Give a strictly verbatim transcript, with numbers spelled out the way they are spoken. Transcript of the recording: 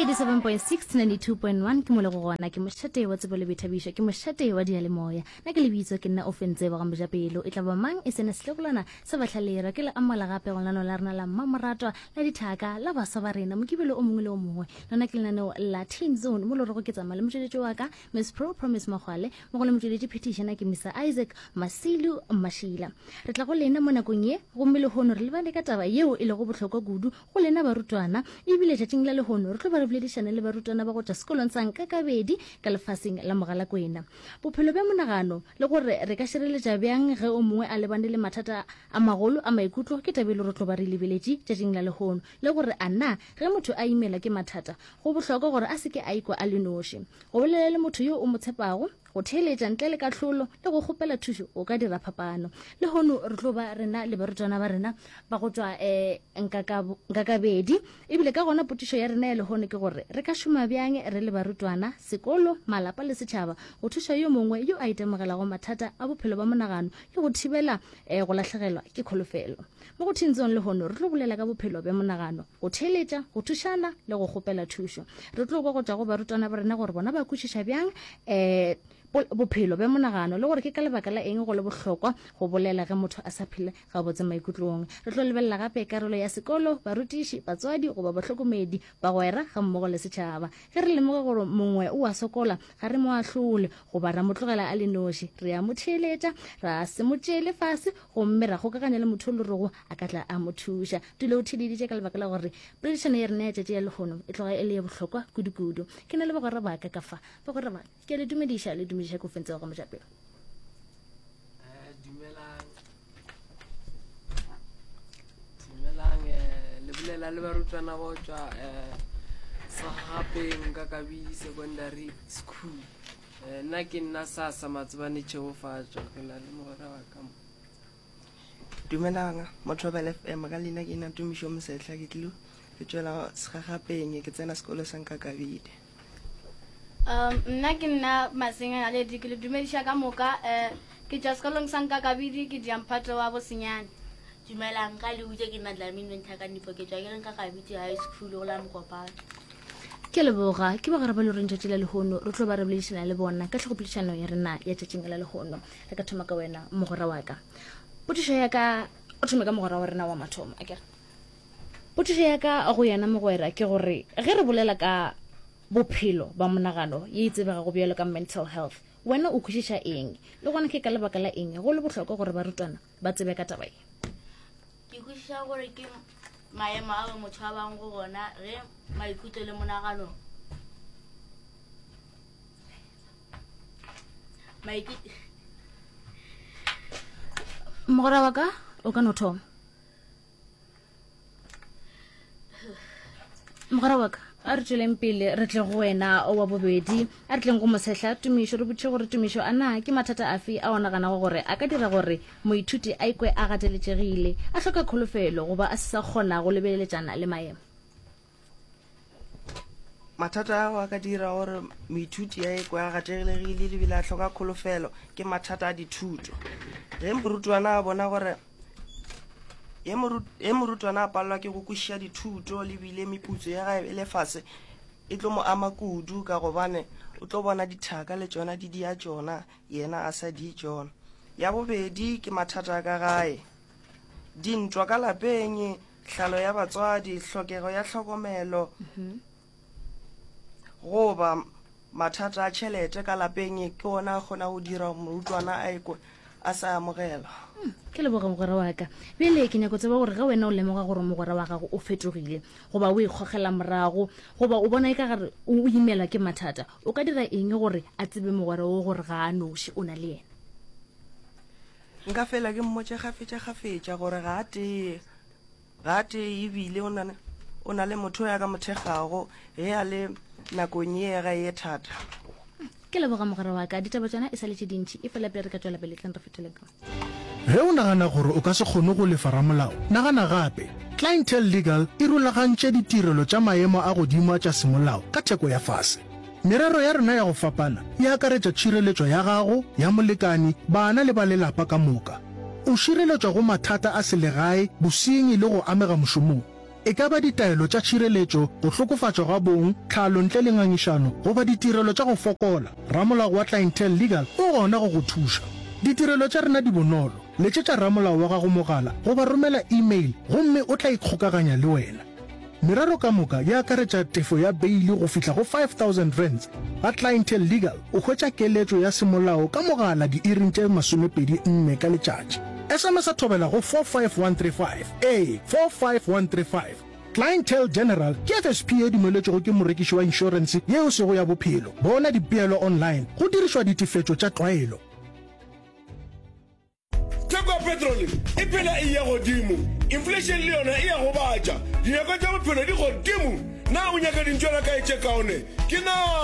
Eighty-seven point six, ninety-two point one ke mo le go gona, ke mošate wa tsebo le boithabišo, ke mošate wa diyalemoya. Nna ke lebitso ke nna Ofentse wa ga Mojapelo. E tla ba mang e sene setlogolwana sa bahlalera ke le amola gape go lenaneo la rena la mmamoratwa la dithaka la baswa ba rena mokibelo o mongwe le o mongwe. Lona ke lenaneo la Teen Zone mo le rego ke tsamaya le motšweletši wa ka Miss Pro Promise Mogwale mo go le motšweletši phetiši yena ke Mister Isaac Masilu Mashila. Re tla go lena mo nakong ye gomme lehono re lebane ka taba yeo e lego bohlokwa kudu go lena barutwana, ebile tšatšing la lehono re tlo ba re boledišana le barutwana ba go tšwa sekolong sa Nkakabedi ka lefaseng la Mogalakwena. Bophelo bja monagano le gore re ka šireletša bjang ge o mongwe a lebane le mathata a magolo a maikutlo ke taba e le re tlo ba re lebeletše tšatšing la lehono, le gore a na ge motho a imelwa ke mathata go bohlokwa gore a se ke a ikwa a le noši. Go bolela le motho yo o mo tshepago, go theeletša ntle le kahlolo le go kgopela thušo go ka dira phapano. Lehono re tlo ba rena le barutwana ba rena ba go tšwa um Nkakabedi, ebile ka gona potšišo ya rena ya lehono ke gore re ka šoma bjang re le barutwana, sekolo, malapa le setšhaba go thuša yo mongwe yo a itemogelago mathata a bophelo ba monagano le go thibela um go lahlegelwa ke kholofelo. Mo go Teen Zone lehono re tlo bolela ka bophelo bja monagano, go theeletša, go thušana le go kgopela thušo. Re tlo kwa go tšwa go barutwana ba rena gore bona ba kwešiša bjang um bophelo bja monagano le gore ke ka lebaka la eng go le bohlokwa go bolela ge motho a sa phele gabotse maikutlong. Re tlo lebelela gape karolo ya sekolo, barutiši, batswadi goba bahlokomedi, bagwera ga mmogo le setšhaba. Ge re lemoga gore mongwe o a sokola, ga re mo ahlole goba ra mo tlogela a le noši. Re a mo theeletša, ra se mo tšeele fase gomme ra kgokaganya le motho o le rego a ka tla a mo thuša. Dula o theeleditše ka lebaka la gore poledišano ya rena ya tšatši ya lehono e tloga e le ye bohlokwa kudu-kudu. Ke na le bagwera ba ka ka fa. Bagwera ba ke le dumediša, le dumediša ke ofentse wa ga Mojapelo. Eh, dumelang. Dumelang, eh, le bolela le barutwana ba tšwa eh, Segagapeng ka Kabidi Secondary School. Eh, nna ke nna Sasa Matsebane Tšhegofatšo, ke na le mogwera wa ka mo. Dumelang, Mothobela F M, ka leina ke nna Tumišo Mosehla, ke tlilo ke tšwela Segagapeng, ke tsena sekolo sa Nkakabidi. Um, nna ke nna Masenga Naledi, ke le dumediša ka moka, eh, ke tšwa sekolong sa Nkakabidi, ke dia mphato wa bosenyane. Dumelang, ka le botse ke nna Dlamini Ntlhakanipho, ke tšwa ke le Nkakabidi High School go la Mokopane. Ke leboga, ke bagwera ba le reng tšatši la lehono re tlo ba re boledišana le bona ka tlhogopoledišano ya rena ya tšatšing la lehono. Re ka thoma ka wena mogwera wa ka. Potšišo ya ka, o thome ka mogwera wa rena wa mathomo, akere. Potšišo ya ka go yena mogwera ke gore ge re bolela ka bophelo ba monagano ye e tsebegago bjalo ka mental health, wena o kwešiša eng? Le gona ke ka lebaka la eng go le bohlokwa gore barutwana ba tsebe ka taba ye? Ke kwešiša gore ke maemo ao motho a bang go gona ge maikutlo le monagano Maikutlo Mogwera wa ka, o ka no thoma. Mogwera wa ka, a re tšweleng pele re tle go wena wa bobedi, a re tleng go Mosehla Tumišo, re botšiše gore Tumišo a na ke mathata afe a o naganago gore a ka dira gore moithuti a ikwe a gateletšegile, a hloka kholofelo goba a se sa kgona go lebeleletšana le maemo? Mathata ao a ka dira gore moithuti a ikwe a gatelegile ebile a hloka kholofelo ke mathata a dithuto. Ge morutwana a bona gore ge morutwana a palelwa ke go kwešiša dithuto le bile meputso ya gae e le fase, e tlo mo ama kudu ka gobane o tlo bona dithaka le tšona di dia tšona, yena a sa di tšona. Ya bobedi ke mathata a ka gae, dintwa ka lapeng, hlalo ya batswadi, hlokego ya tlhokomelo, goba mathata a tšhelete ka lapeng ke ona a kgona go dira morutwana a ikwe a sa amogelwa. Hmm, ke leboga mogwera wa ka. Bjale ke nyako tseba gore ge wena o lemoga gore mogwera wa gago o fetogile goba o ikgogela morago goba o bona e ka gare o imelwa ke mathata, o ka dira eng gore a tsebe mogwera wo gore ga a noši, o na le yena? Nka fela ke mmotše kgafetša-kgafetša gore ga a tee, ga a tee ebile o na, o na le motho ya ka mo thekgago ge a le nakong ye ga ye thata. Ke leboga mogwera wa ka. Ditaba tšona e sa le tše dintši, efela pele re ka tšwela pele, tleng re fetoleng ka. Ge o nagana gore o ka se kgone go lefa ramolao, nagana gape. Clientele Legal e rulagantše ditirelo tša maemo a godimo a tša semolao ka theko ya fase. Merero ya rena ya go fapana e akaretša tšhireletšo ya gago, ya molekani, bana le ba lelapa ka moka. O šireletšwa go mathata a selegae, bosenyi le go amega mošomong. E ka ba ditaelo tša tšhireletšo, go hlokofatšwa ga bong, tlhalo ntle le ngangišano, goba ditirelo tša go fokola, ramolao wa Clientele Legal o gona go go thuša. Ditirelo tša rena di bonolo, letšetša ramolao wa gago mogala goba romela email gomme o tla ikgokaganya le wena. Merero ka moka e akaretša tefo ya beili go fihla go five thousand rands. Ga Clientele Legal o hwetša keletšo ya semolao ka mogala diiring tše masomepedi nne ka letšatši. S M S thobela go four five one three five, ee, four five one three five. Clientele General ke F S P ye dumeletšwego ke morekiši wa inšorense ye e sego ya bophelo. Bona dipeelo online go dirišwa ditefetšo tša tlwaelo. Theko ya petrole e phela e eya godimo, inflation le yona e a gobatša, dinyakwa tša bophelo di godimo. Na o nyaka dintšwela kae tše kaone? Ke na.